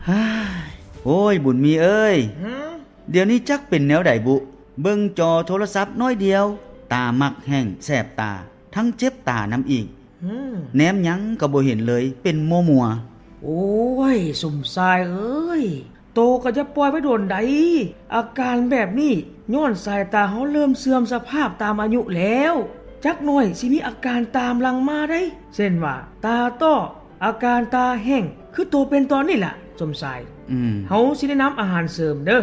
ໂອ້ຍ ບຸນມີເອີຍ, ຫື? ດຽວນີ້ຈັກເປັນແນວໃດບຸ? ເບິ່ງຈໍໂທລະສັບໜ້ອຍດຽວ ຕາມັກແຫ້ງແສບຕາ ທັງເຈັບຕານຳອີກ. ຫື? ແນມຫຍັງກໍບໍ່ເຫັນເລີຍ, ເປັນມົວໆ. ໂອ້ຍ ສົມຊາຍເອີຍ, ໂຕກໍຢ່າປ່ອຍໄວ້ດົນໃດ. ອາການແບບນີ້ຍ້ອນສາຍຕາເຮົາເລີ່ມເສື່ອມສະພາບຕາມອາຍຸແລ້ວ. ຈັກໜ້ອຍຊິມີອາການຕາມຫຼັງມາໄດ໋, ເຊັ່ນວ່າ ຕາຕ້ອ, ອາການຕາແຫ້ງ ຄືໂຕເປັນຕອນນີ້ລະ ສົມຊາຍ. ອືມ ເຮົາຊິແນະນຳອາຫານເສີມເດີ້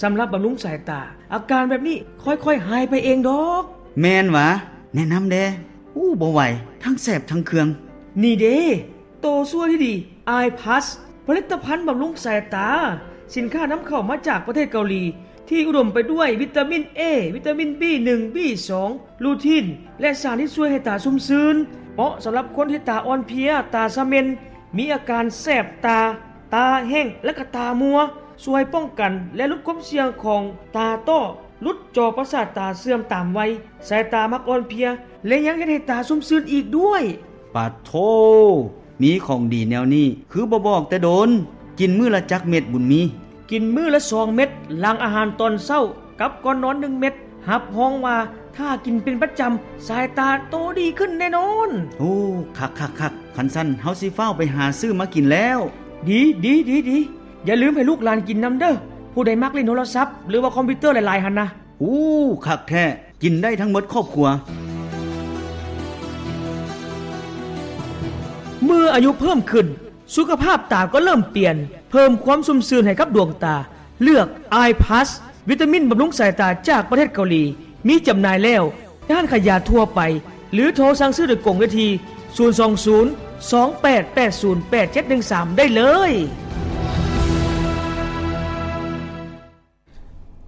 ສຳລັບບຳລຸງສາຍຕາ. ອາການແບບນີ້ຄ່ອຍໆຫາຍໄປເອງດອກ. ແມ່ນຫວາ? ແນະນຳແດ່. ໂອ້ ບໍ່ໄຫວ, ທັງແສບທັງເຄືອງ. ນີ້ເດ້ ໂຕຊ່ວຍທີ່ດີ Eye Plus ຜະລິດຕະພັນບຳລຸງສາຍຕາ, ສິນຄ້ານຳເຂົ້າມາຈາກປະເທດເກົາຫຼີ ທີ່ອຸດົມໄປດ້ວຍວິຕາມິນ A, ວິຕາມິນ B ໜຶ່ງ, B ສອງ, ລູທີນ ແລະ ສານທີ່ຊ່ວຍໃຫ້ຕາຊຸ່ມຊື່ນ. ເໝາະສຳລັບຄົນທີ່ຕາອ່ອນເພຍ, ຕາສະເໝັ່ນ, ມີອາການແສບຕາ, ຕາແຫ້ງ ແລະ ກະຕາມົວ. ຊ່ວຍປ້ອງກັນ ແລະ ຫຼຸດຄວາມສ່ຽງຂອງຕາຕ້ອ, ຫຼຸດຈໍປະສາດຕາເສື່ອມຕາມໄວ, ສາຍຕາມັກອ່ອນເພຍ ແລະ ຍັງເຮັດໃຫ້ຕາຊຸ່ມຊື່ນອີກດ້ວຍ. ປາໂທ! ມີຂອງດີແນວນີ້ ຄືບໍ່ບອກແຕ່ດົນ. ກິນມື້ລະຈັກເມັດ ບຸນມີ? ກິນມື້ລະສອງເມັດ ຫຼັງອາຫານຕອນເຊົ້າ ກັບກ່ອນນອນໜຶ່ງເມັດ. ຮັບຮອງວ່າຖ້າກິນເປັນປະຈຳ ສາຍຕາໂຕດີຂຶ້ນແນ່ນອນ. ໂອ້ ຄັກໆໆ. ຄັນຊັ້ນເຮົາຊິຟ້າວໄປຫາຊື້ມາກິນແລ້ວ. ດີໆໆ. ຢ່າລືມໃຫ້ລູກຫຼານກິນນຳເດີ້. ຜູ້ໃດມັກຫຼິ້ນໂທລະສັບ ຫຼືວ່າຄອມພິວເຕີຫຼາຍໆຫັ້ນນະ. ໂອ້ ຄັກແທ້, ກິນໄດ້ທັງໝົດຄອບຄົວ. ເມື່ອອາຍຸເພີ່ມຂຶ້ນ, ສຸຂະພາບຕາກໍເລີ່ມປ່ຽນ, ເພີ່ມຄວາມຊຸ່ມຊື່ນໃຫ້ກັບດວງຕາ. ເລືອກ Eye Plus ວິຕາມິນບຳລຸງສາຍຕາຈາກປະເທດເກົາຫຼີ, ມີຈຳໜ່າຍແລ້ວ ຮ້ານຂາຍຢາທົ່ວໄປ ຫຼື ໂທສັ່ງຊື້ໂດຍກົງໄດ້ທີ່ ສູນສອງສູນ ສອງແປດແປດສູນ ແປດເຈັດໜຶ່ງສາມ ໄດ້ເລີຍ.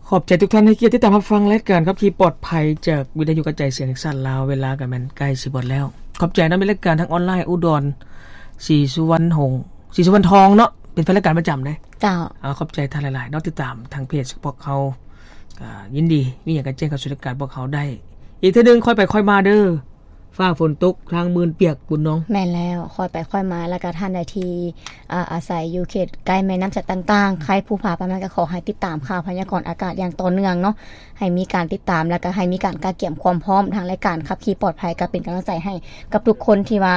ຂອບໃຈທຸກທ່ານໃຫ້ກຽດຕິດຕາມຮັບຟັງລາຍການຂັບຂີ່ປອດໄພຈາກວິທະຍຸກະຈາຍສຽງແຫ່ງຊາດລາວ. ເວລາກໍແມ່ນໃກ້ຊິໝົດແລ້ວ. ຂອບໃຈນຳ ມີລາຍການທາງອອນລາຍ ອຸດອນ ສີສຸວັນຫົງ ສີສຸວັນທອງເນາະ, ເປັນແຟນລາຍການປະຈຳເດ້. ເຈົ້າ. ເອົາ ຂອບໃຈທ່ານຫຼາຍໆເນາະ, ຕິດຕາມທາງເພຈພວກເຮົາ. ກໍຍິນດີ, ມີຫຍັງກໍແຈ້ງເຂົ້າສູ່ລາຍການພວກເຮົາໄດ້. ອີກເທື່ອໜຶ່ງ ຄ່ອຍໄປຄ່ອຍມາເດີ້. ຟ້າຝົນຕົກ ທາງມື່ນປຽກ ບຸນນອງ. ແມ່ນແລ້ວ, ຄ່ອຍໄປຄ່ອຍມາ. ແລ້ວກໍທ່ານໃດທີ່ ອາ ອາໄສຢູ່ເຂດໃກ້ແມ່ນ້ຳສັດຕ່າງໆ, ໃຄພູຜາປ່າໄມ້ ກໍຂໍໃຫ້ຕິດຕາມຂ່າວພະຍາກອນອາກາດຢ່າງຕໍ່ເນື່ອງເນາະ, ໃຫ້ມີການຕິດຕາມ ແລ້ວກໍໃຫ້ມີການກະກຽມຄວາມພ້ອມ. ທາງລາຍການຂັບຂີ່ປອດໄພກໍເປັນກຳລັງໃຈໃຫ້ກັບທຸກຄົນທີ່ວ່າ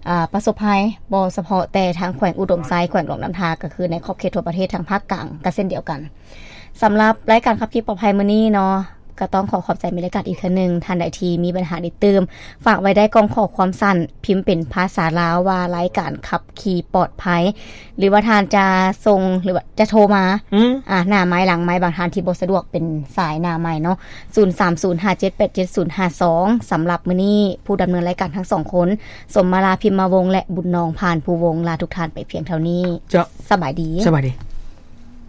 ອາ ປະສົບໄພ, ບໍ່ສະເພາະແຕ່ທາງແຂວງອຸດົມໄຊ, ແຂວງຫຼວງນ້ຳທາ, ກໍຄືໃນຂອບເຂດທົ່ວປະເທດ, ທາງພາກກາງກໍເຊັ່ນດຽວກັນ. ສຳລັບລາຍການຂັບຂີ່ປອດໄພມື້ນີ້ເນາະ, ກໍຕ້ອງຂໍຂອບໃຈແມ່ນລາຍການອີກເທື່ອໜຶ່ງ. ທ່ານໃດທີ່ມີບັນຫາເດັດຕື່ມ, ຝາກໄວ້ໄດ້ກ່ອງຂໍ້ຄວາມສັ້ນ, ພິມເປັນພາສາລາວວ່າ ລາຍການຂັບຂີ່ປອດໄພ, ຫຼືວ່າທ່ານຈະສົ່ງ ຫຼືວ່າຈະໂທມາ ອືມ ອາ ໜ້າໄມ ຫຼັງໄມ, ບາງທ່ານທີ່ບໍ່ສະດວກເປັນສາຍໜ້າໄມເນາະ, ສູນສາມສູນຫ້າເຈັດແປດເຈັດສູນຫ້າສອງ. ສຳລັບມື້ນີ້ ຜູ້ດຳເນີນລາຍການທັງສອງຄົນ ສົມມາລາ ພິມມະວົງ ແລະ ບຸນນອງ ພານພູວົງ ລາທຸກທ່ານໄປພຽງເທົ່ານີ້. ເຈົ້າ. ສະບາຍດີ. ສະບາຍດີ.